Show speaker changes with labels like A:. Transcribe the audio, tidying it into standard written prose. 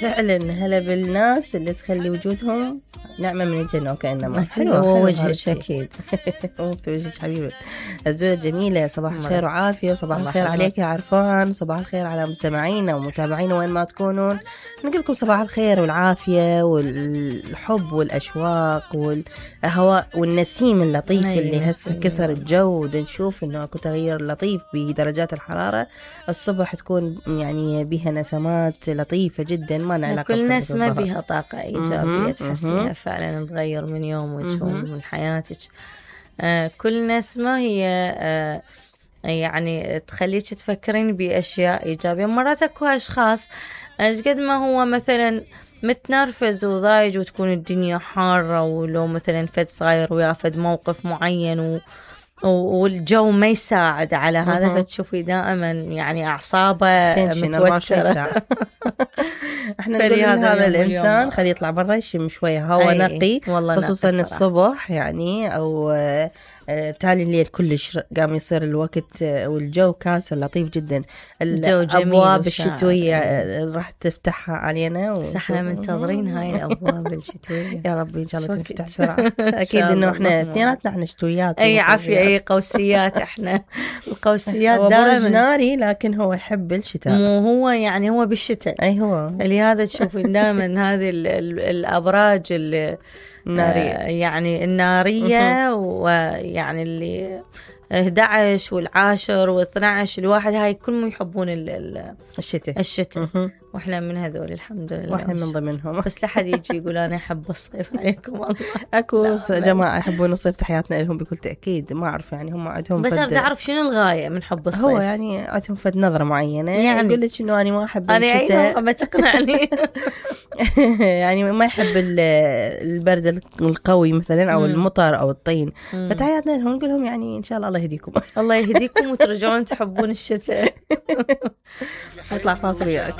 A: فعلا هلا بالناس اللي تخلي وجودهم نعمة من الجنة وكأنما.
B: حلو وجهك أكيد.
A: وجهك حبيبي الزولة الجميلة. صباح الخير وعافية. صباح الخير عليك يا عرفان. صباح الخير على مستمعينا ومتابعينا وين ما تكونون. نقول لكم صباح الخير والعافية والحب والأشواق والهواء والنسيم اللطيف اللي هسه كسر الجو. نشوف إنه أكو تغيير لطيف بدرجات الحرارة. الصبح تكون يعني بها نسمات لطيفة جدا ما نعلق.
B: كل نسمة بها طاقة إيجابية تحسيها فعلا تغير من يومك ومن حياتك. كل نسمة هي يعني تخليك تفكرين بأشياء إيجابية. مرات أكو أشخاص قد ما هو مثلا متنرفز وضايج وتكون الدنيا حارة ولو مثلا فد صاير ويافد موقف معين والجو ما يساعد على هذا فتشوفي دائما يعني أعصابه متوترة.
A: احنا نقول هذا الإنسان خليه يطلع برا يشم شوية هوا نقي خصوصا الصبح يعني أو تالي الليل كلش قام يصير الوقت والجو كاسر لطيف جدا. الأبواب الشتوية راح تفتحها علينا
B: بس احنا منتظرين هاي الأبواب الشتوية.
A: يا ربي إن شاء الله تفتح بسرعة. أكيد إنه احنا اثنيناتنا احنا شتويات.
B: أي عافية أي قوسيات. احنا القوسيات دائما
A: ناري لكن هو يحب الشتاء.
B: مو هو يعني هو بالشتاء.
A: أي هو
B: لهذا تشوفين دائما هذه الأبراج اللي
A: النارية
B: يعني النارية ويعني اللي 11 والعاشر و12 الواحد هاي كلهم يحبون الشتاء واحنا من هذول الحمد لله
A: واحنا من ضمنهم.
B: بس لحد يجي يقول انا احب الصيف عليكم الله.
A: اكو جماعه يحبون الصيف تحياتنا لهم بكل تاكيد. ما اعرف يعني هم عندهم
B: بس انا اعرف شنو الغايه من حب الصيف.
A: هو يعني عندهم فد نظره معينه يعني يقول لك انه انا ما احب الشتاء.
B: انا ما تقنعني.
A: يعني ما يحب البرد القوي مثلا او المطر او الطين. فتحياتنا لهم نقول لهم يعني ان شاء الله الله يهديكم.
B: الله يهديكم وترجعون تحبون الشتاء.
A: نطلع فاصل وياك.